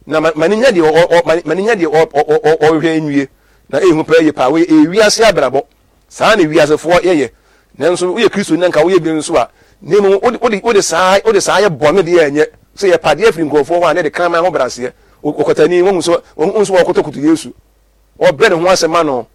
Na ma ma ne nya deɛ ɔ ɔ ma ma ne nya deɛ ɔ ɔ ɔ ɔhwehwɛ nwie. Na ehu paa yie paa. Wei ɛyɛ wiase abrabɔ. Saa na wiasefoɔ yɛyɛ. Nanso woyɛ Kristoni na nka woyɛ bi nso a, na mmom wode wode wode saa wode saa yɛ bɔne deɛ ɛnyɛ. Sɛ yɛpɛ adeɛ afiri nkurɔfoɔ hɔ a na yɛde kraman ho braseɛ. Ɔkwatani, wohu sɛ wohu sɛ wɔkotokoto Yesu. Wɔbrɛ ne ho ase ma no.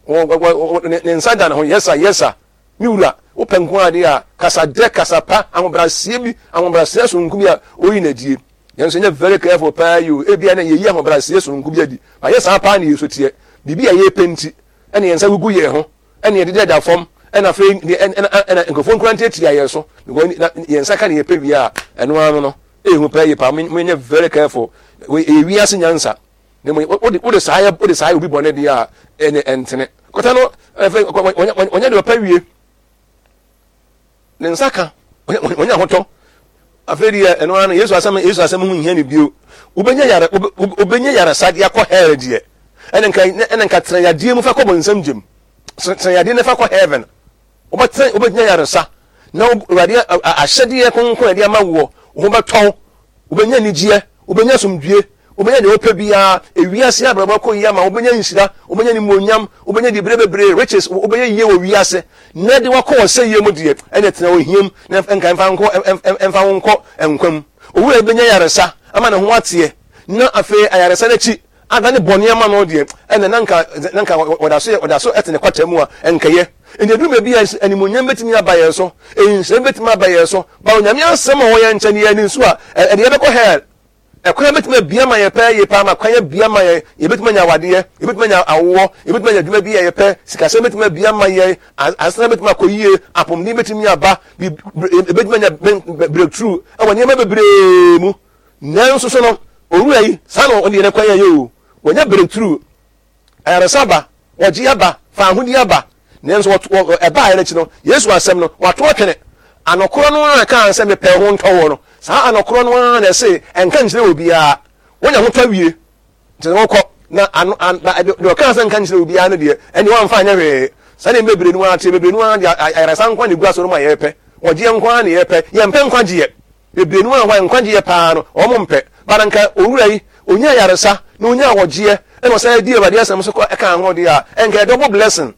Wɔ wɔ wɔ ne ne nsa da ne ho, Yes sir, yes sir. Me wura, wopɛ nko ara deɛ a, kasa dɛ, kasa pa, ahobraseɛ bi, ahobraseɛ sononko bi a ɔyi no adie. Nanso nyɛ very careful paa yi o, ebia na yɛyi ahobraseɛ sononko bi adi, but yɛ saa paa na yɛsu teɛ. Biribi a yɛpɛ nti, ɛna yɛn nsa gugu yɛn ho, ɛna yɛdeda fam, ɛna afei ɛna ɛna nkurɔfoɔ nkura ntiatia yɛn so, because na yɛn nsa ka na yɛpɛ wie a, ɛno ara no no, ehu paa yie paa, monyɛ very careful. Wei ɛyɛ wiase nyansa. Na mmom wode wode saa yɛ wode saa yɛ obi bɔne deɛ a, ɛnyɛ ɛntene. Kɔta no ɛfɛ wɔnyɛ deɛ ɔpɛ wie. Ne nsa ka wɔnyɛ ahotɔ. Afei deɛ ɛno ara no Yesu asɛm Yesu asɛm ho nhia ne bio. Wobɛnya yare wobɛnya yaresa de akɔ hell deɛ. Ɛna nka ɛna nka tena yadeɛ mu fa kɔ bɔnsam gyem. Tena yadeɛ no fa kɔ heaven. Wobɛtena wobɛnya yaresa na Awurade ahyɛdeɛ kronkron a ɛde ama woɔ wo ho bɛtɔ wo. Wobɛnya anigyeɛ, wobɛnya asomdwie, wobɛnya deɛ wopɛ biara. Ewiase abrabɔ akɔ yie ama wo, wobɛnya nhyira, wobɛnya animuonyam, wobɛnya diberɛ bebree, riches, wobɛyɛ yie wɔ wiase. Na de wakɔ ɔsɛeɛ mu deɛ, ɛnna tena ohia mu na nka ɛmfa nkɔ ɛmfa wo nkɔ nkwa mu. Owura yi bɛnya ayaresa ama ne ho ateɛ, na afei ayaresa no akyi adane bɔne ama no deɛ, ɛnna na nka na nka ɔda so ɔda so te ne kwata mu a, ɛnkɛyɛ. Enti ɛduru baabi a animuonyam bɛtumi aba yɛn so, nhyira bɛtumi aba yɛn so, ba Onyame asɛm a ɔwɔ yɛn nkyɛn no yɛn ani nso a, ɛde yɛbɛkɔ hell. Ɛkwan bɛtumi abue ama yɛn pɛɛ yie paa ma kwan abue ama yɛn, yɛbɛtumi anya awadeɛ, yɛbɛtumi anya awoɔ, yɛbɛtumi anya adwuma bi a yɛpɛ, sikasɛm bɛtumi abue ama yɛn, asetena bɛtumi akɔ yie, apɔmuden bɛtumi aba, yɛbɛtumi anya breakthrough ɛwɔ nneɛma bebree mu. Nanso so no, owura yi, saa na ɔde yɛn kwan yɛ o, wɔnya breakthrough, ayaresa aba, wɔgye aba, faahodi aba, nanso ɛbaeɛ no akyi no, Yesu asɛm no, wɔato atwene. Anokorɔ no ara kaa sɛ mepɛ ho ntɔ woɔ no, saa anokorɔ no ara na ɛse ɛnka nkyerɛ obiara. Wonya ho tɔ wie, nti na wokɔ, na ano, an, na deɛ ɔkaa sɛ nka nkyerɛ obiara no deɛ, ɛnneɛ wamfa anyɛ hwee. Saa na bebree no ara teɛ, bebree no ara deɛ ayaresa nko ara na ɛgu asɔre mu a yɛpɛ, wɔgyeɛ nko ara na yɛpɛ, yɛmpɛ nkwagyeɛ. Bebree no ara hɔ a nkwagyeɛ paa no wɔn mpɛ. But anka owura yi onyaa ayaresa na onyaa ɔgyeɛ ɛna ɔsan di Awurade asɛm so kɔ ɛkaa ho deɛ a, ɛnka ɛyɛ double blessing.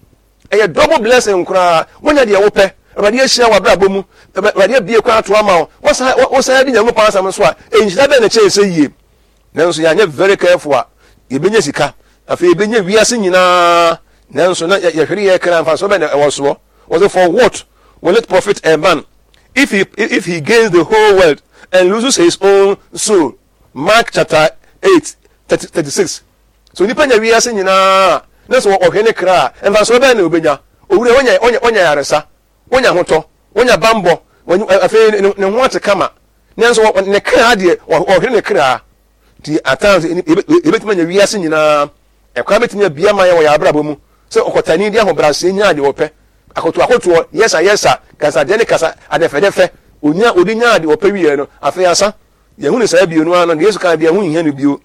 Ɛyɛ double blessing koraa. Wonya deɛ wopɛ. Awurade ahyira w'abrabɔ mu. Awurade abue kwan ato ama wo. Wosan wosan di Nyankopɔn asɛm so a, nhyira bɛn na ɛkyɛn sɛ yie? Nanso yɛanyɛ very careful a, yɛbɛnya sika. Afei yɛbɛnya wiase nyinaa. Nanso na yɛhwere yɛn kra mfasoɔ bɛn na ɛwɔ soɔ? Wɔse for what will it profit a man if he if he gains the whole world and loses his own soul? Mark chapter 8 36. So nipa nya wiase nyinaa na sɛ ɔhwɛ ne kra a, mfasoɔ bɛn na obenya? Owura onya onya onya yaresa, onya ahotɔ, onya bambɔ, afei ne ho ate kama. Nanso ne kra deɛ ɔhwere ne kra. Nti at times yɛbɛtumi anya wiase nyinaa. Ɛkwan bɛtumi abue ama yɛn wɔ yɛn abrabɔ mu sɛ ɔkwatani de ahobrɛaseɛ nyaa deɛ ɔpɛ. Akotoakotoɔ, yɛsa yɛsa, kasadeɛ ne kasa adɛfɛdɛfɛ, ɔnya ɔde nyaa deɛ ɔpɛ wieɛ no, afei asa. Yɛhunu saa bio no ara no, deɛ Yesu kaa deɛ ɛho nhia no bio.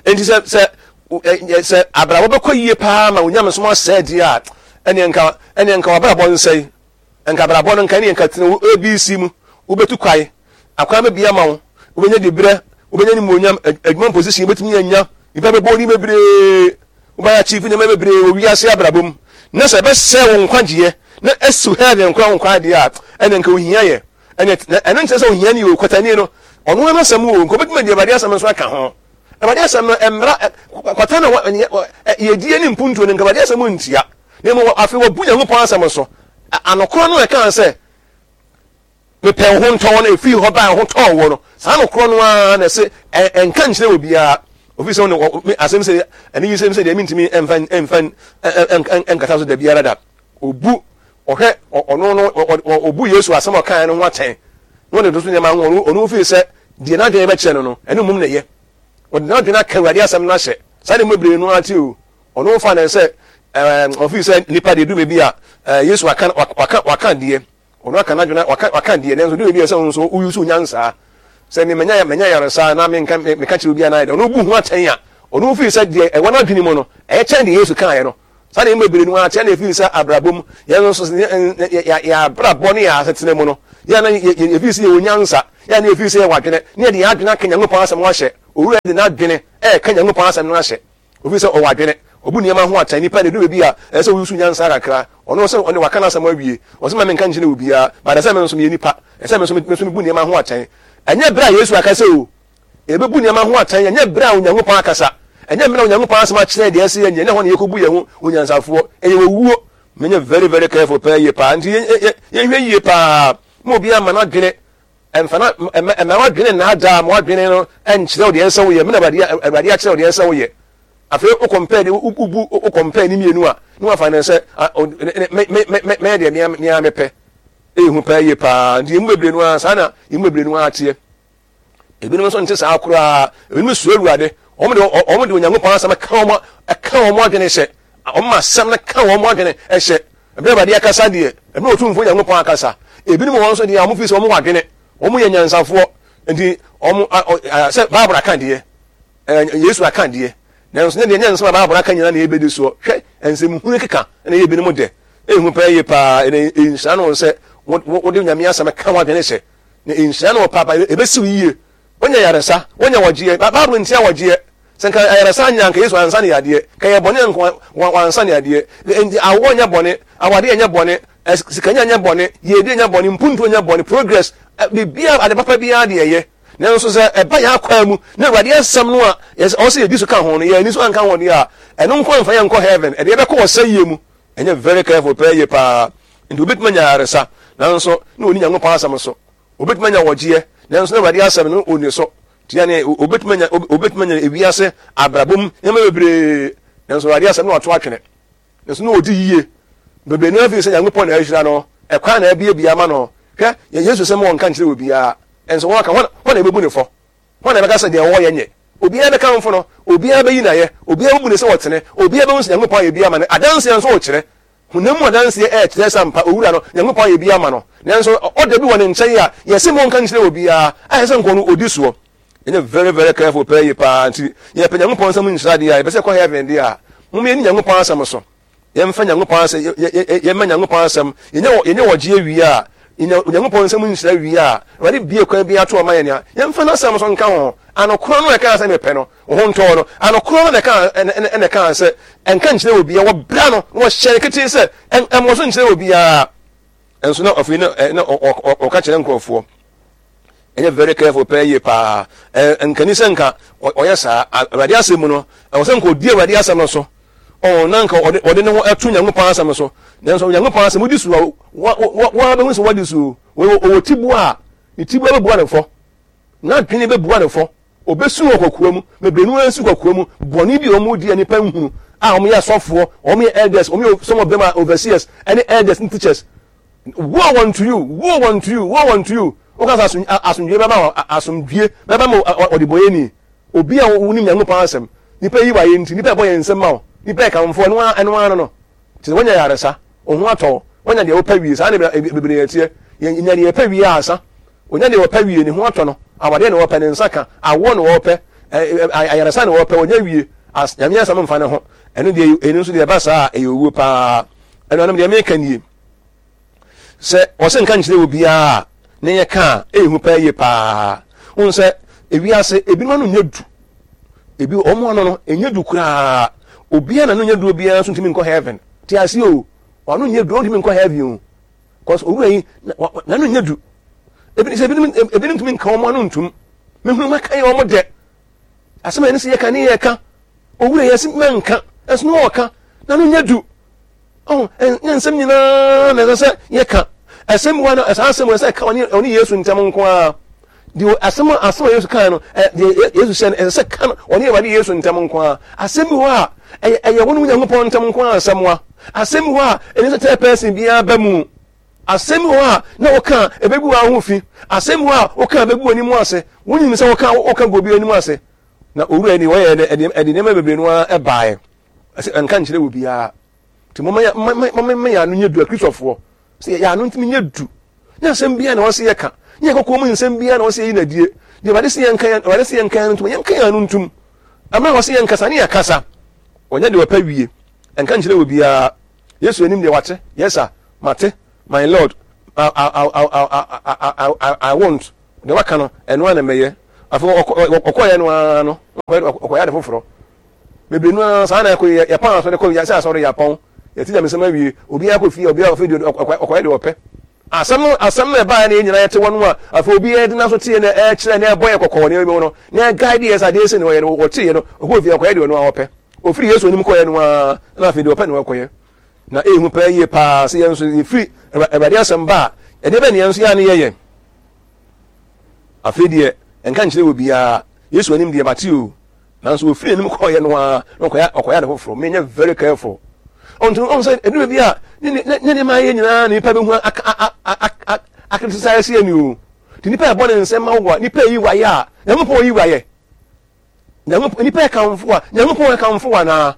Enti sɛ sɛ sɛ abrabɔ bɛkɔ yie paa ma onyamesom asɛe deɛ a, ɛneɛ nka ɛneɛ nka w'abrabɔ nsɛe. Nka abrabɔ no nka ɛneɛ nka tena wo ABC mu, wobɛtu kwae, akwan bɛbue ama wo, wobɛnya diberɛ, wobɛnya animuonyam, adwuma position wobɛtumi anya, nnipa bɛbɔ wo din bebree, wobɛyɛ achieve nneɛma bebree wɔ wiase abrabɔ mu. Na sɛ ɛbɛsɛe wo nkwagyeɛ na asiw heaven koraa wo nkwa adeɛ a, ɛneɛ nka ohia yɛ. Ɛneɛ ɛno nkyerɛ sɛ ohia ni o, kwatani no, ɔno ara n'asɛm o, nka obɛtumi adi Awurade asɛm nso aka ho. Awurade asɛm no, mmara, kwata na yɛdie ne mpuntuo no, nka Awurade asɛm ntia. Na mmom afei wɔbu Nyankopɔn asɛm so. Anokorɔ no a ɛkaa sɛ, Mepɛ wo ho ntɔ wo no, ɛfiri hɔ baa ho tɔɔ wo no, saa nokorɔ no ara na ɛse ɛnka nkyerɛ obiara. Ofiri sɛ wo ne asɛm sɛ anigyesɛm sɛ deɛ mentumi ɛmfa ɛmfa ɛnkata so da biara da. Obu ɔhwɛ ɔno no ɔbu Yesu asɛm a ɔkaeɛ no ho atɛn na ɔde toto nneɛma ho. Ɔno firi sɛ deɛ n'adwene bɛkyerɛ no no, ɛno mmom na ɛyɛ. Ɔde n'adwene aka Awurade asɛm no ahyɛ. Saa de mu bebree no ara te o. Ɔno fa no sɛ ɛɛ ɔfiri sɛ nipa deɛ du baabi a ɛɛ Yesu waka waka waka deɛ ɔno aka n'adwene waka waka deɛ nanso du baabi a sɛ ɔno nso woyi so nyansaa sɛ me manya manya yaresa na menka meka kyerɛ obi anaa ɔno bu ho atɛn a ɔno firi sɛ deɛ ɛwɔ n'adwene mu no ɛyɛ kyɛn deɛ Yesu kaeɛ no. Saa na yɛn bebree no ara kyerɛ na ɛfiri sɛ abrabɔ mu yɛn nso yɛ abrabɔ ne yɛn asetena mu no. Yɛ a na yɛfii sɛ yɛwɔ nyansa, yɛ a na yɛfii sɛ yɛwɔ adwene, na yɛde yɛn adwene aka Nyankopɔn asɛm no ahyɛ. Owura yi de n'adwene ɛreka Nyankopɔn asɛm no ahyɛ. Ofii sɛ ɔwɔ adwene, obu nneɛma ho atɛn. Nipa na ɛduru baabi a ɛsɛ sɛ wosusu nyansa kakra. Ɔno ɔsɛ ɔne waka n'asɛm awie. Ɔsɛ ma menka nkyerɛ obiara, but ɛsɛ me nso meyɛ nipa. Ɛsɛ me nso me nso mebu nneɛma ho atɛn. Ɛnyɛ bere a Yesu akasa o. Yɛbɛbu nneɛma ho atɛn, ɛnyɛ bere a Onyankopɔn akasa. Ɛnyɛ mmerɛ a Onyankopɔn asɛm akyerɛ deɛ ɛsɛ yɛnyɛ, ɛnyɛ hɔ na yɛkɔbu yɛn ho onyansafoɔ. Ɛyɛ owuo. Menyɛ very very careful paa yie paa. Nti yɛnhwɛ yie paa. Ma obiara mma n'adwene ɛmfa na ɛmma ɛmma w'adwene nnaadaa ma w'adwene no ɛnkyerɛ wo deɛ ɛsɛ woyɛ. Mena Awurade Awurade akyerɛ wo deɛ ɛsɛ woyɛ. Afei wo compare de wobu wo compare ne mmienu a na wafa ne sɛ me me me mɛyɛ deɛ mea mea mepɛ. Ɛyɛ hu paa yie paa. Nti yɛn mu bebree no ara saa na yɛn mu bebree no ara teɛ. Ebinom nso nte saa koraa. Ebinom suro Awurade. Wɔn de wɔn de Onyankopɔn asɛm ka wɔn ka wɔn adwene hyɛ. Wɔn ma asɛm no ka wɔn adwene hyɛ. Ɛbɛrɛ Awurade akasa deɛ, ɛbɛrɛ Otumfoɔ Onyankopɔn akasa. Ebinom wɔn nso deɛ, wɔn fi sɛ wɔn wɔ adwene. Wɔn yɛ nyansafoɔ. Nti wɔn sɛ Bible aka deɛ, Yesu aka deɛ. Nanso ne deɛ nyɛ nsɛm a Bible aka nyinaa na yɛbɛdi soɔ. Hwɛ nsɛm hunu keka na ɛyɛ ebinom dɛ. Ehu paa yie paa. Ɛna nhyira no sɛ wode Nyame asɛm ka wɔn adwene hyɛ. Na nhyira no wɔ paapa, ebesi wo yie. Wonya yaresa, wonya wɔgyeɛ. Bible ntia wɔgyeɛ. Sɛ nka ayaresa anya nka Yesu ansa ne yadeɛ. Ka yɛ bɔne nka wansa ne yadeɛ. Nti awoɔ nyɛ bɔne, awadeɛ nyɛ bɔne, sikanya nyɛ bɔne, yiedie nyɛ bɔne, mpuntuo nyɛ bɔne, progress, biribiara, ade papa biara deɛ ɛyɛ. Nanso sɛ ɛba yɛn akwaa mu na Awurade asɛm no a ɔwɔ sɛ yɛdi so ka ho no, yɛn ani so anka ho deɛ a, ɛno nko amfa yɛn nkɔ heaven, ɛde yɛbɛkɔ ɔsɛeɛ mu. Ɛnyɛ very careful pɛɛ yie paa. Nti obetumi anya ayaresa, nanso na onni Nyankopɔn asɛm so. Obetumi anya ɔgyeɛ, nanso na Awurade asɛm no onni so. Nti yɛne obetumi anya obetumi anya ewiase abrabɔ mu nneɛma bebree, nanso Awurade asɛm na wato atwene. Nanso na odi yie. Bebree no afiri sɛ Nyankopɔn na ahyira no, ɛkwan na abiebie ama no. Hwɛ, Yesu sɛ ma wɔnka nkyerɛ obiara, nso wɔka, hwan na ebebu ne fɔ? Hwan na ɛbɛka sɛ deɛ ɔwɔ yɛ nyɛ? Obiara bɛkamfo no, obiara bɛyi no ayɛ, obiara bɛbu no sɛ ɔtene, obiara bɛhu sɛ Nyankopɔn ayɛ bi ama no. Adanseɛ nso rekyerɛ. Honam mu adanseɛ ɛrekyerɛ sɛ ampa Owura no, Nyankopɔn ayɛ bi ama no. Nanso ɔda bi wɔ ne nkyɛn a yɛse monka nkyerɛ obiara, ayɛ sɛ nka ɔno ɔdi soɔ. Yɛnyɛ very very careful paa yie paa nti yɛpɛ Nyankopɔn nsam nhyira deɛ a, yɛpɛ sɛ yɛkɔ heaven deɛ a, mom yɛnni Nyankopɔn asɛm so. Yɛmfa Nyankopɔn asɛm, yɛ, yɛ, yɛ, yɛma Nyankopɔn asɛm, yɛnya, yɛnya ɔgyeɛ wie a, yɛnya Onyankopɔn nsɛm nhyira wie a, Awurade bue kwan bi ato ɔma yɛn a, yɛmfa n'asɛm nso nka ho. Ano korɔ no na ɛkaa sɛ mepɛ no, wo ho ntɔɔ no. Ano korɔ no na ɛkaa, ɛna, ɛna ɛkaa sɛ, ɛnka nkyerɛ obiara. Wɔbra no, na wɔhyɛ no ketee sɛ, ɛn, ɛmmɔ so nkyerɛ obiara. Nso na afei na, na ɔka kyerɛ nkurɔfoɔ. Ɛnyɛ very careful pɛɛ yie paa. Nkani sɛ nka ɔyɛ saa. Awurade asɛm mu no, ɛwɔ sɛ nka ɔdi Awurade asɛm no so. Ɔɔ, na nka ɔde, ɔde ne ho ɛto Nyankopɔn asɛm no so. Nanso Onyankopɔn asɛm wodi so a, wa, wa, wa bɛhu sɛ wadi so. Ɔwɔ tiboa a, ne tiboa bɛbua ne fɔ. N'adwene bɛbua ne fɔ. Ɔbɛsu wɔ kɔkoa mu. Bebree no ara su kɔkoa mu. Bɔne bi a wɔdi a nnipa nhunu, a wɔyɛ asɔfoɔ, wɔyɛ elders, wɔyɛ some of them are overseers, ɛne elders ne teachers. Woe unto you, woe unto you, woe unto you. Woka sɛ asomdwie bɛba ma asomdwie bɛba ma ɔdebɔyɛni. Obi a wonim Nyankopɔn asɛm. Nipa yi wayɛ nti, nipa ɛbɔ yɛn nsam ma wo. Nipa ɛkamfo ɛno ara ɛno ara no no. Kyerɛ sɛ woanya yaresa, wo ho atɔ wo, woanya deɛ wopɛ wie. Saa na bebree ɛteɛ. Yɛnya deɛ yɛpɛ wie ansa. Onya deɛ ɔpɛ wie, ne ho atɔ no. Awadeɛ na ɔpɛ, ne nsa ka. Awoɔ na ɔpɛ, ayaresa na ɔpɛ, ɔnya wie. As, Nyame asɛm mfa ne ho. Ɛno deɛ, ɛno nso deɛ ɛba saa a, ɛyɛ owuo paa. Anuanom, deɛ meka nie. Sɛ ɔsɛ nka nkyerɛ obiara a, ne yɛ ka a, ɛyɛ hu paa yie paa. Wohu sɛ, ewiase, ebinom ano nyɛ du. Ebi, wɔn ano no, ɛnyɛ du koraa. Obiara na no nyɛ du obiara nso ntumi nkɔ heaven. Te aseɛ o, wɔn ano nyɛ du, wɔn ntumi nkɔ heaven o. Cause owura yi, n'ano nyɛ du. Ebi sɛ ebinom, ebinom ntumi nka wɔn ano ntum. Mehunu maka yɛ wɔn dɛ. Asɛm a yɛne sɛ yɛka ne yɛka. Owura yi ɛsɛ mɛnka, ɛnso na ɔka. N'ano nyɛ du. Ɔho, ɛnyɛ nsɛm nyinaa na ɛsɛ sɛ yɛka. Ɛsɛm wa no, saa asɛm wɔ sɛ ɛka ɔne ɔne Yesu ntam nko ara. Deɛ asɛm a asɛm a Yesu kae no, deɛ Yesu hyɛ no, ɛsɛ sɛ ka no ɔne Awurade Yesu ntam nko ara. Asɛm bi hɔ a, ɛyɛ ɛyɛ wɔn Onyankopɔn ntam nko ara asɛm wa. Asɛm bi hɔ a, ɛnyɛ sɛ third person biara ba mu. Asɛm bi hɔ a, na wɔka a, ɛbɛgu wɔn ho fi. Asɛm bi hɔ a, wɔka a, ɛbɛgu wɔn anim ase. Wɔnyim sɛ wɔka wɔka gu obi anim ase. Na owura yi wɔyɛ ɛde ɛde nneɛma bebree no ara ɛbaeɛ. Ɛsɛ ɛnka nkyerɛ obiara. Nti momma yɛ momma momma yɛn ano nyɛ du akristofoɔ. Sɛ yɛn ano ntumi nyɛ du. Nyɛ asɛm biara na wɔsɛ yɛka. Nyɛ kɔkɔɔ mu nsɛm biara na wɔsɛ yɛyi no adie. Deɛ Awurade sɛ yɛnka yɛn Awurade sɛ yɛnka yɛn ano ntom yɛnka yɛn ano ntom. Ɛmmerɛ a wɔsɛ yɛnkasa ne yɛkasa. Wɔnyɛ deɛ wɔpɛ wie. Ɛnka nkyerɛ obiara. Yesu anim deɛ wate. Yes sir. Mate. My Lord. I, I, I, I, I, I won't. Deɛ waka no, ɛno ara na mɛyɛ. Afei ɔkɔeɛ no ara no, ɔkɔyɛ ade foforɔ. Bebree no ara saa na ɛkɔ yɛ yɛpɔn asɔre kɔ yɛsɛ asɔre yɛapɔn. Yɛte nyamesɛm awie, obiara kɔ fie, obiara afei deɛ ɔkɔyɛ deɛ ɔpɛ. Asɛm no asɛm no ɛbaeɛ na yɛn nyinaa yɛte hɔ no a, afei obiara de n'aso teɛ na ɛkyerɛ na ɛbɔ yɛ kɔkɔ wɔ nneɛma bi ho no, na ɛguide yɛ sɛ adeɛ sei na ɔyɛ no, ɔteeɛ no, ɔkɔɔ fie ɔkɔyɛ deɛ ɔno ara ɔpɛ. Ɔfiri Yesu anim kɔeɛ no ara, na afei deɛ ɔpɛ na ɔkɔyɛ. Na ɛyɛ hu paa yie paa sɛ yɛn nso yɛfiri Awurade asɛm ba a, ɛdeɛ bɛn na yɛn nso yɛ a ne yɛyɛ? Afei deɛ, ɛnka nkyerɛ obiara, Yesu anim deɛ mate o, nanso ɔfiri anim kɔeɛ no ara na ɔkɔyɛ ɔkɔyɛ ade foforɔ. Menyɛ very careful. Ɔnti ɔn sɛ ɛduru baabi a ne ne ne nneɛma ayɛ nyinaa na nipa bɛhu akritisize yɛ ni o. Nti nipa ɛbɔ ne nsɛm ma wo a, nipa yi wayɛ a, Nyankopɔn yi wayɛ. Nyankopɔn nipa ɛkamfo a, Nyankopɔn ɛkamfo anaa?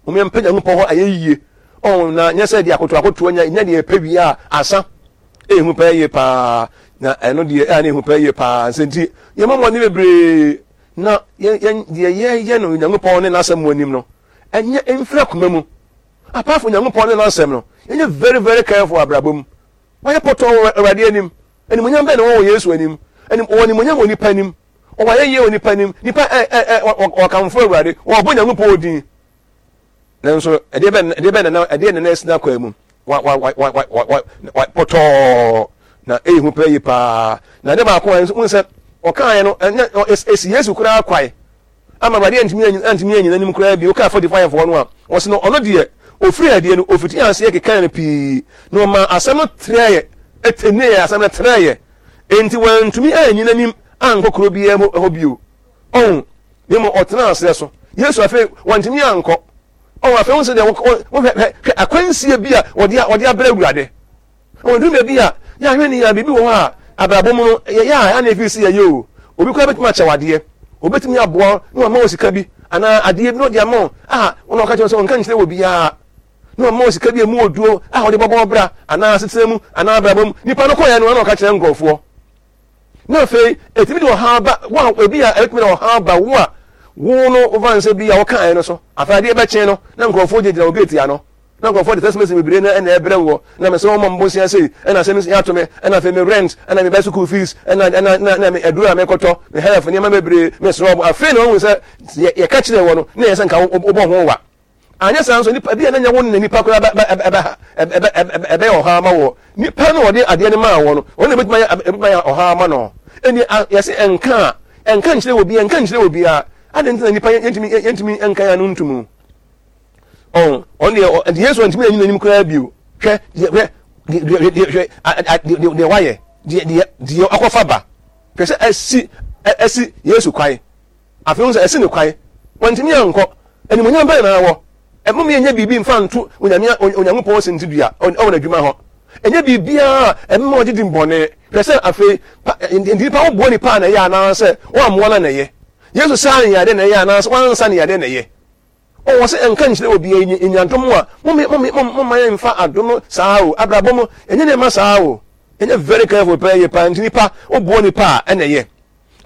Mom yɛmpɛ Nyankopɔn hɔ ayɛyie oh, na nyɛ sɛ deɛ akoto akotoɔ nya nya deɛ ɛpɛ wie a asa. Ɛhu pɛɛ yie paa, na ɛno deɛ ɛa na ɛhu pɛɛ yie paa. Nsɛ nti yɛmmɔ mmɔden bebree na yɛn yɛn deɛ yɛyɛ no Nyankopɔn ne n'asɛm mu anim no ɛnyɛ mfiri akoma mu. Apart from Nyankopɔn ne n'asɛm no, yɛnyɛ very very careful abrabɔ mu. Wayɛ pɔtɔɔ wɔ Awurade anim. Animuonyam bɛn na ɔwɔ wɔ Yesu anim? Anim ɔwɔ animuonyam wɔ nipa anim. Ɔwɔ ayɛyie wɔ nipa anim. Nipa ɛ ɛ ɛ ɔkamfo Awurade. Ɔbɔ Nyankopɔn din. Nanso ɛdeɛ bɛn ɛdeɛ bɛn na ɛdeɛ na na ɛsi n'akwan mu. Wa wa wa wa wa wa wa pɔtɔɔ na eyi ho pɛ yie paa. Na adeɛ baako a nso n sɛ ɔkaeɛ no ɛnyɛ esi Yesu koraa kwae. Ama Awurade antumi antumi anyina anim koraa bio. Wokaa 45 foɔ no a, ɔse no ɔno deɛ ɔfiri adie no ɔfiti aseɛ kekae no pii na ɔmaa asɛm no trɛeɛ, ɛtɛneeɛ, asɛm no trɛeɛ. Enti wantumi annyina anim ankɔ kuro biara mu hɔ bio. Ɔho, na mmom ɔtenaa aseɛ so. Yesu afei wantumi ankɔ. Ɔho, afei wohu sɛ deɛ hwɛ hwɛ hwɛ akwansie bi a wɔde wɔde abrɛ Awurade. Ɔduru baabi a, yɛ ahwɛ ni a, biribi wɔ hɔ a, abrabɔ mu no, yɛyɛ a, ɛa na ɛfiri sɛ yɛyɛ o. Obi koraa bɛtumi akyɛ wo adeɛ. Obɛtumi aboa wo na wama wo sika bi, anaa adeɛ bi na ɔde ama wo a, wo na ɔka kyerɛ wo sɛ ɔnka nkyerɛ wɔ biara. Na wama wo sika bi a ɛmu ɔduro a wɔde bɔbɔ wo bra, anaa asetena mu, anaa abrabɔ mu. Nipa no kɔeɛ no, ɛna ɔka kyerɛ nkurɔfoɔ. Na afei, ɛtumi de ɔhaw ba, wo a, ebi a ɛbɛtumi de ɔhaw ba wo a, wo no, wofa nsɛ bi a wɔkaeɛ no so. Afei adeɛ bɛkye no, na nkurɔfoɔ gyinagyina wo gate ano. Na nkurɔfoɔ de text message bebree na ɛna ɛbrɛ woɔ, na mesrɛ wo mmɔ bosea sei, ɛna asɛm yi ato me, ɛna afei me rent, ɛna me ba school fees, ɛna ɛna ɛna ɛna me aduro a mekɔtɔ, me health nneɛma bebree, mesrɛ wo. Afei na wahu sɛ yɛ yɛka kyerɛ wɔ no, na ɛyɛ sɛ nka wobɔ ho wa. Anyɛ saa nso nipa bi a na nyɛ wo na nipa koraa bɛ bɛ ɛbɛ ɛbɛ ɛbɛ ɛbɛyɛ ɔhaw ama wɔ. Nipa no ɔde adeɛ no maa wɔ no, ɔno na ebɛtumi ayɛ ebɛtumi ayɛ ɔhaw ama no. Ɛni yɛse ɛnka a, ɛnka nkyerɛ wɔ bi, ɛnka nkyerɛ wɔ biara. Adɛn nti na nipa yɛntumi yɛntumi nka yɛn ano ntomu? Ɔn, ɔno deɛ, nti Yesu antumi anyi n'anim koraa bio. Hwɛ, deɛ, hwɛ, deɛ, deɛ, hwɛ, deɛ, deɛ wayɛ, deɛ, deɛ, deɛ akɔfa ba. Hwɛ sɛ asi, asi Yesu kwan. Afei ho sɛ asi ne kwan. Wantumi ankɔ. Animuonyam bɛn na awɔ? Ɛmom yɛnyɛ biribi mfa nto Onyame, Onyankopɔn sintidua ɛwɔ n'adwuma hɔ. Ɛnyɛ biribiara a ɛmma ɔgye di bɔne. Hwɛ sɛ afei, nti nipa woboa nipa a na ɛyɛ anaasɛ woammoa no a na ɛyɛ. Yesu saa ne yadeɛ na ɛyɛ anaasɛ wansa ne yadeɛ na ɛyɛ. Oh, wɔse ɛnka nkyerɛ obiara, yɛnya, yɛnya adom a, mom, mom, mom, momma yɛmfa adom no saa o, abrabɔ mu, yɛnyɛ nneɛma saa o, yɛnyɛ very careful paa yie paa, nti nipa, woboa nipa a, ɛna ɛyɛ,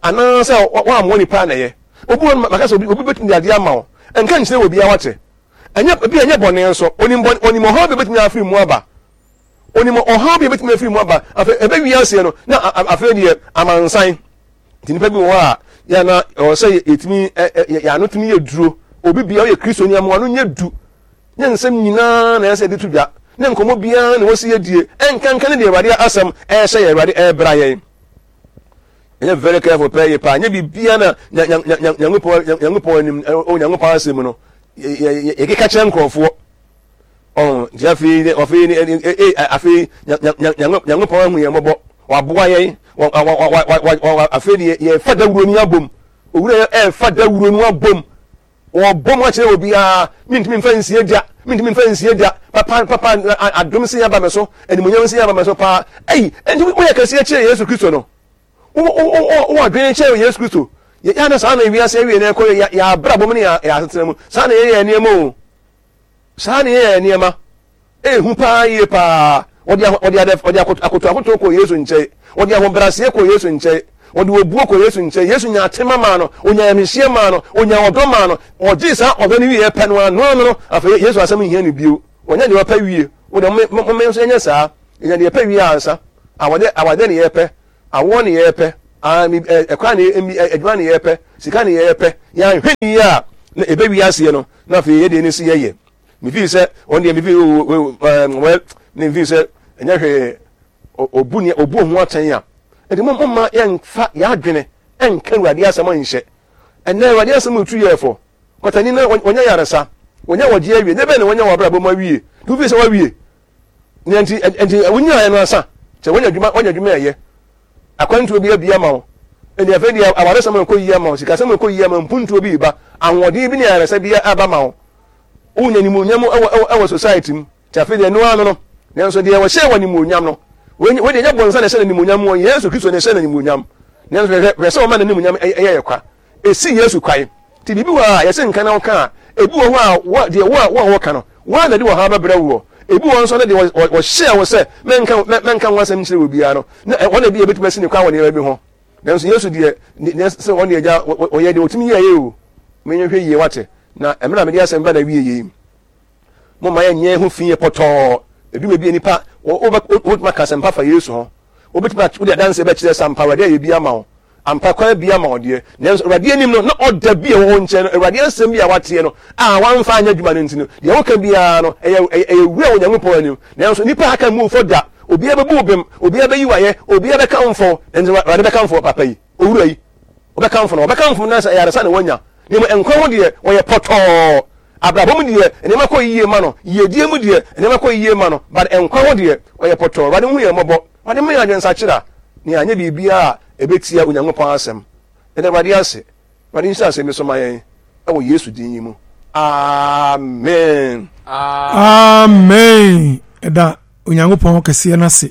anaasɛ woammoa nipa a na ɛyɛ, obi wɔ no, maka sɛ obi, obi bɛtumi de adeɛ ama wo, ɛnka nkyerɛ obiara wate, ɛnyɛ, ebi ɛnyɛ bɔne nso, onim bɔne, onim ɔhaw bi a ɛbɛtumi afiri mu aba, onim ɔhaw bi a ɛbɛtumi afiri mu aba, afei ɛbɛwie aseɛ no, na afei deɛ amansan. Nti nnipa bi wɔ hɔ a, yɛ na ɛwɔ sɛ yɛtumi yɛn ano tumi yɛ duro. Obi bia ɔyɛ Kristoni ama ano nyɛ du. Nyɛ nsɛm nyinaa na ɛsɛ yɛde to dwa. Ne nkɔmmɔ biara na wɔsi yɛdie. Ɛnkanka ne deɛ Awurade asɛm ɛrehyɛ yɛn, Awurade ɛrebra yɛn. Ɛnyɛ very careful pɛɛ yɛ paa. Nyɛ biribiara na Nyankopɔn Nyankopɔn anim, Onyankopɔn asɛm mu no, yɛkeka kyerɛ nkurɔfoɔ. Ɔn, nti afei, afei, ee, afei, Nyankopɔn ahu yɛn mmɔbɔ, waboa yɛn, afei deɛ yɛfa dawuro no abom. Owura yɛ ɛfa dawuro no abom. Wɔbɔ mu akyerɛ obiara, mentumi mfa nsie da, mentumi mfa nsie da. Papa, papa, adom se aba me so, animuonyam se aba me so paa. Ei, nti woyɛ kɛseɛ kyerɛ Yesu Kristo no. Wowɔ adwene kyerɛ Yesu Kristo. Yɛ na saa na wiase awie na ɛkɔ yɛ abrabɔ mu ne yɛ asetena mu. Saa na yɛyɛ nneɛma o. Saa na yɛyɛ nneɛma. Ɛyɛ hu paa yie paa. Wɔde wɔde adɛ wɔde akoto akoto akoto kɔɔ Yesu nkyɛn. Wɔde ahobrɛaseɛ kɔɔ Yesu nkyɛn. Wɔde obuo kɔɔ Yesu nkyɛn. Yesu nyaa tema maa no. Ɔnyaa ayamhyehyeɛ maa no. Ɔnyaa ɔdɔ maa no. Ɔgyee saa ɔdɔ no wieɛ pɛ no ara, no ara no, afei Yesu asɛm nhia no bio. Wɔnya deɛ wɔpɛ wie. Wo deɛ, mo mo nso yɛnyɛ saa. Yɛnya deɛ yɛpɛ wie ansa. Awade awade ne yɛpɛ, awoɔ ne yɛpɛ, ɛkwan ne adwuma ne yɛpɛ, sika ne yɛpɛ. Yɛanhwɛ ne yie a, na ɛbɛwi aseɛ no, na afei yɛdeɛ ne si yɛyɛ. Mefii sɛ, wɔn deɛ mefii wɛ, ne mefii sɛ, ɛnyɛ hwee, obu ne obu ho atɛn a. Nti mo mma yɛmfa yɛadwene ɛnka Awurade asɛm nhyɛ. Ɛnɛ Awurade asɛm retu yɛ fɔ. Kwatani na wɔnya yaresa, wɔnya wɔgye awie, ne bɛn na wɔnya wɔ abrabɔ mu awie. Nti wofii sɛ wawie. Nea nti nti wonyaeɛ no ansa sɛ wonya adwuma wonya adwuma ɛyɛ akwantuo bi abia ma wo ɛnti afei deɛ awaresɛm ɛkɔ yie ama wo sikasɛm ɛkɔ yie ama mpuntuo bi ba ahoɔden bi ne ayaresa bi aba ma wo wonya animuonyam ɛwɔ ɛwɔ ɛwɔ society mu nti afei deɛ ɛno ano no nanso deɛ wɔhyɛ wɔ animuonyam no wei deɛ nyɛ bɔnsa na ɛhyɛ no animuonyam wɔ Yesu Kristo na ɛhyɛ no animuonyam nanso hwɛ hwɛ sɛ wɔma n'animuonyam ɛyɛ yɛ kwa Esi Yesu kwan. Nti biribi wɔ hɔ a yɛse nka na woka a, ebi wɔ hɔ a wo deɛ wo a wo a wɔka no, wo ara na ɛde ɔhaw bɛbrɛ woɔ. Ebi wɔ hɔ nso a na deɛ wɔ wɔhyɛɛ wo sɛ mɛnka mɛnka ho asɛm nkyerɛ obiara no, na wɔn na ebi a ebetumi asi ne kwan wɔ nneɛma bi ho. Nanso Yesu deɛ, ne ne sɛ wɔn deɛ agya wɔyɛ deɛ wɔtumi yɛeɛ o. Menyɛ yie wate. Na mmerɛ a mede asɛm ba na wie yei. Momma yɛnyɛ yɛn ho fi yɛ pɔtɔɔ. Edu baabi a nipa wobɛtumi aka asɛmpa fa Yesu ho. Wobɛtumi wode adanseɛ bɛkyerɛ sɛ ampa Awurade ayɛ bi ama wo. Ampa kwan abue ama wo deɛ, nanso Awurade anim no, na ɔda bi a ɛwɔ wo nkyɛn no, Awurade asɛm bi a woateɛ no, a woamfa anyɛ adwuma no nti no, deɛ woka biara no, ɛyɛ, ɛyɛ, ɛyɛ wura wɔ Onyankopɔn anim. Nanso nnipa a aka mmu wo fɔ da. Obiara bɛbu wo bem, obiara bɛyi wo ayɛ, obiara bɛkamfo wo, nanso Awurade bɛkamfo wo papa yi, owura yi. Wɔbɛkamfo no, wɔbɛkamfo no na sɛ ayaresa na wanya. Na mmom nkwa ho deɛ, ɔyɛ pɔtɔɔ. Abrabɔ mu deɛ, nneɛma kɔ yie ma no. Yiedie mu deɛ, nneɛma kɔ yie ma no. But nkwa ho deɛ, ɔyɛ pɔtɔɔ. Awurade nhu yɛn mmɔbɔ. Awurade mma yɛn adwensakyera na yɛanyɛ biribiara a ɛbɛtia Onyankopɔn asɛm. Yɛda Awurade ase. Awurade nhyira asɛm yi so ma yɛn wɔ Yesu din yi mu. Amen. Amen. Ɛda Onyankopɔn kɛseɛ no ase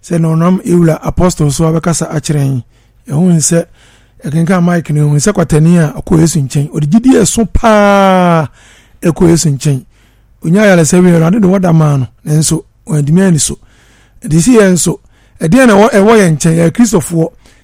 sɛ na ɔnam Ewura Apostle so abɛkasa akyerɛ yɛn. Yɛhu sɛ ɛkenkan Mike no yɛhu sɛ kwatani a ɔkɔ Yesu nkyɛn. Ɔde gyidie ɛso paa ɛkɔ Yesu nkyɛn. Onya ayaresa wie Awurade de wɔda maa no nanso wɔantumi anni so. Ɛde si yɛn nso ɛdeɛn na ɛwɔ yɛn nkyɛn yɛyɛ Kristofoɔ.